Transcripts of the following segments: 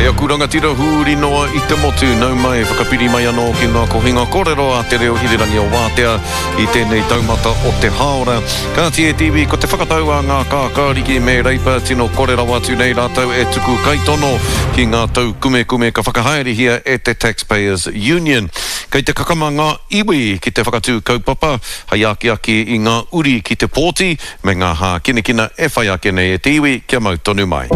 E aku rangatira huri noa i te motu, nau mai, whakapiri mai anō ki ngā kohinga kōrero a Te Reo Irirangi o Wātea i tēnei taumata o te hāora. Kāti e te iwi, ko te whakatau a ngā kākāriki me Reipa tino kore rawa atu nei rātou e tuku kaitono ki ngā taukumekume ka whakahaerehia e te Taxpayers Union. Kei te kakama ngā iwi ki te whakatū kaupapa hei akiaki i ngā uri ki te pōti, me ngā hākinakina e whai ake nei e te iwi kia mau tonu mai.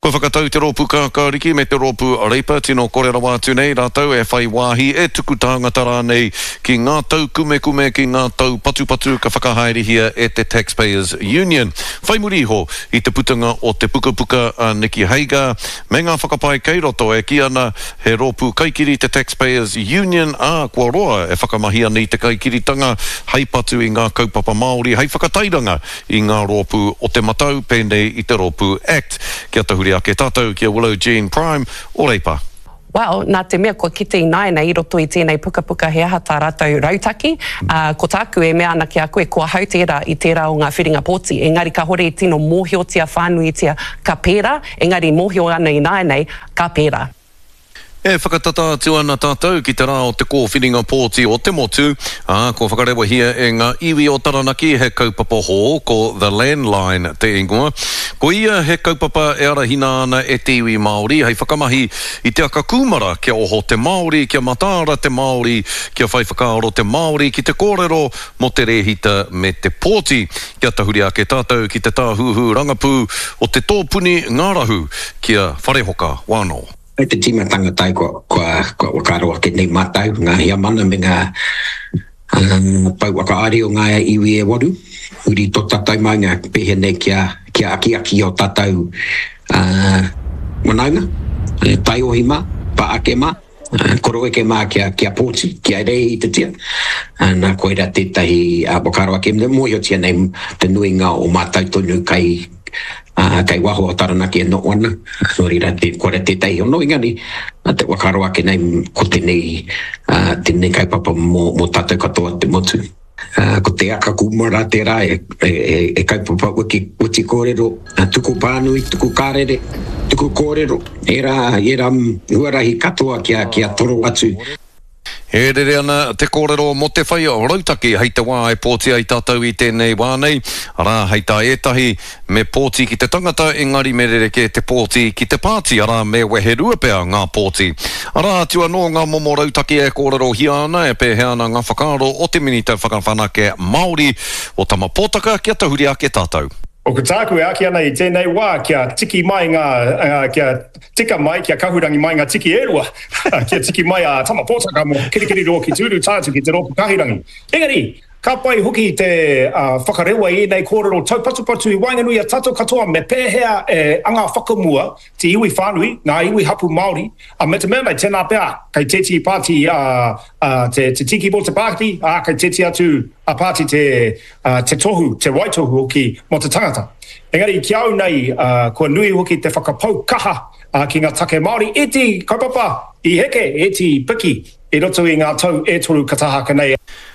Kua whakatau te Rōpū Kākāriki me te Rōpū Reipa tino kore rawa atu nei rātou e whai wāhi, e tuku tāngata rānei ki ngā taukumekume, ki ngā taupatupatu ka whakahaerehia e te Taxpayers Union. Whai muri iho i te putanga o te pukapuka a Nicky Hagar me ngā whakapae kei roto e kī ana He rōpū kaikiri te Taxpayers Union, ā, kua roa e whakamahi ana i te kaikiritanga hei patu i ngā kaupapa Māori, hei whakatairanga i ngā rōpū o te matau, pēnei i te rōpū act. Kia tahuri ake tātou ki a Willow Jean Prime o Reipa. Well, nā te mea kua kite ināianei i roto i tēnei pukapuka he aha tā rātou rautaki, ā, ko tāku e mea ana ki a koe, ko ahau tērā i tērā o ngā whiringa pōti, engari kāhore i tino mōhiotia whānuitia ka pērā, engari mōhio ana ināianei, Ka pērā. E whakatata atu ana tātou ki te rā o te kōwhiringa pōti o te motu, ā, kua whakarewahia e ngā iwi o Taranaki he kaupapa hou, ko The Landline te ingoa. Ko ia he kaupapa e arahina ana e te iwi Māori hei whakamahi i te aka kūmara kia oho te Māori, kia mataara te Māori, kia whai whakaaro te Māori ki te kōrero mō te rēhita me te pōti. Kia tahuri ake tātou ki te tāhuhu rangapū o te tōpuni ngārahu ki a Wharehoka Wano. I te tīmatanga tai kua whakaaro ake nei mātou, ngā heamana me ngā pou whakaari o ngā iwi e waru, huri tō tātou maunga pēhea nei kia akiaki i ō tātou whanaunga, taiohi mā, pā ake mā. Koroeke mā kia, kia pōti, kia rēhitatia. Nā, koirā tētahi whakaaro ake, mōhiotia nei te nuinga o mātou tonu kai, kai waho o Taranaki e noho ana, nō reira, koirā tētahi hono, engari, te whakaaro ake nei, ko tēnei, tēnei kaupapa mō, mō tātou katoa te motu. Ko te aka kūmara tērā e kaupapa weti kōrero, tuku pānui, tuku karere, tuku kōrero, ērā, ērā huarahi katoa kia toro atu. E rere ana te kōrero mō te whai rautaki hei te wā e pōti ai tātou i tēnei wā nei, arā, hei tā ētahi, Me pōti ki te tangata, engari me rerekē te pōti ki te pāti, arā, me weherua pea ngā pōti. Arā atu anō ngā momo rautaki e kōrerohia ana, e pēhea ana ngā whakaaro o te Minita Whakawhanake Māori, o Tama Potaka, kia tahuri ake tātou. Ko tāku e āki ana i tēnei wā kia tiki mai ngā, kia tika mai, kia kahurangi mai ngā tiki e rua, kia tiki mai a Tama Potaka mō Kirikiriroa ki Tūru tae atu ki te Rōpū Kahurangi. Engari, Ka pai hoki te whakarewa i ēnei kōrero taupatupatu i waenganui i a tātou katoa me pēhea e anga whakamua te iwi whānui, ngā iwi hapū Māori, me te mea nei, tēnā pea, kei tētehi pāti te tiki mō te pāti, ā, kei tētehi atu pāti te tohu, te waitohu hoki mō te tangata. Engari ki a au nei, kua nui hoki te whakapau kaha ki ngā take Māori, ētehi kaupapa i heke, ētehi i piki i roto i ngā tau e toru ka taha ake nei.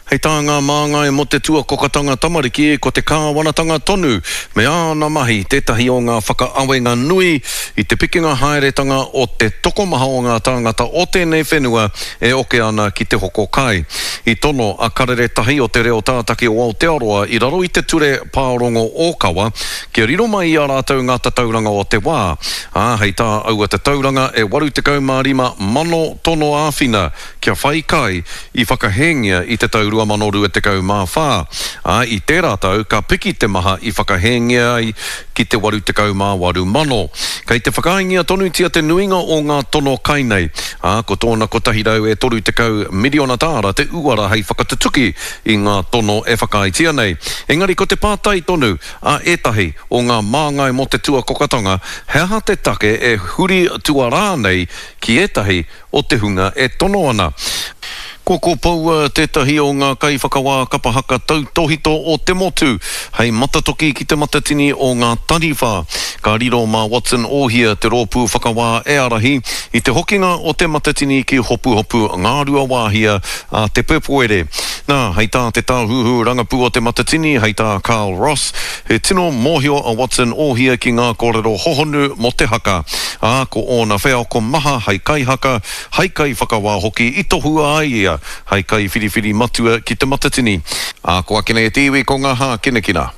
Hei tā ngā māngai mō te tuakokatanga tamariki, ko te kāwanatanga tonu me āna mahi tētahi o ngā whakaawenga nui i te pikinga haeretanga o te tokomaha o ngā tāngata o tēnei whenua e oke ana ki te hoko kai. I tono a Karere Tahi o Te Reo Tātaki o Aotearoa i raro i te Ture Pārongo Ōkawa kia riro mai i a rātou ngā tatauranga o te wā, ā, hei tā aua tatauranga e 85 mano tono āwhina kia whai kai i whakahēngia i te tau 2024, ā, i tērā tau ka piki te maha i whakahēngia ai ki te 88 mano. Kei te whakaaengia tonutia te nuinga o ngā tono kai nei, ā, ko tōna 130 miriona tāra te uara hei whakatutuki i ngā tono e whakaaetia nei. Engari ko te pātai tonu a ētahi o ngā māngai mō te tuakokatanga, he aha te take e huri tuarā nei ki ētahi o te hunga e tono ana. Kua kopoua tētahi o ngā kaiwhakawā kapa haka tautōhito o te motu hei matatoki ki Te Matatini o Ngā Taniwha. Ka riro mā Watson Ohia te rōpū whakawā e ārahi i te hokinga o Te Matatini ki Hopuhopu Ngāruawāhia a te Pepuere. Nā, hei tā te tāhuhu rangapū o Te Matatini, hei tā Carl Ross, he tino mōhio a Watson Ohia ki ngā kōrero hohonu mō te haka, ā, ko ōna wheako maha hei kaihaka, Hei kaiwhakawā hoki i tohua ai ia hei kaiwhiriwhiri matua ki Te Matatini. Ā, ko ake nei e te iwi ko ngā hākinakina.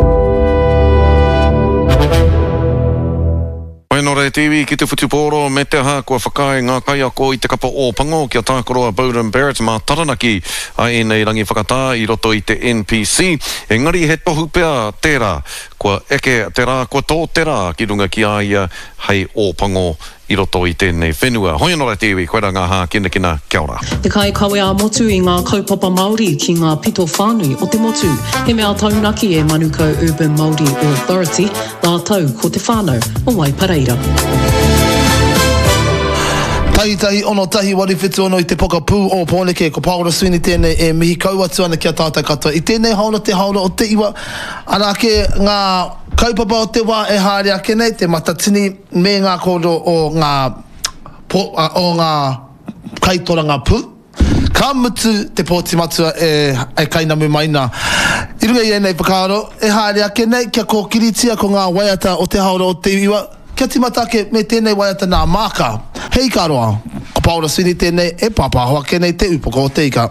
Whai nō reira te iwi ki te whutupōro me te aha kua whakaae ngā kaiako i te kapa Ōpango kia tākaro a Beauden Barrett mā Taranaki a ēnei rangi whakatā i roto i te NPC. Engari he tohu pea tērā kua eke te rā kua tō te rā ki runga ki a ia hei Ōpango i roto i tēnei whenua. Hoi anō rā te iwi, koirā ngā hākinakina, kia ora. Te kaikawe ā-motu i ngā kaupapa Māori ki ngā pito whānui o te motu. He mea taunaki e Manukau Urban Māori Authority rātou ko te whānau o Waipareira. Tahitahi ono tahi 8 7 6 i te pokapū o Pōneke, ko Pāora Sweeney tēnei e mihi kau atu ana ki a tātou katoa. I tēnei haora te haora o te iwa, arā ake ngā kaupapa o te wā e haere ake nei, te Matatini, me ngā kōrero o ngā o ngā kaitorangapū, ka mutu te pōti matua e kainamu mai nā. I runga i ēnei whakaaro, e haere ake nei kia kōkiritia ko ngā waiata o Te Haora o te Iwa, kia tīmata ake me tēnei waiata nā Māka, He Ika Roa. Ko Paora Sweeney tēnei e pāpāho ake nei te upoko o te ika.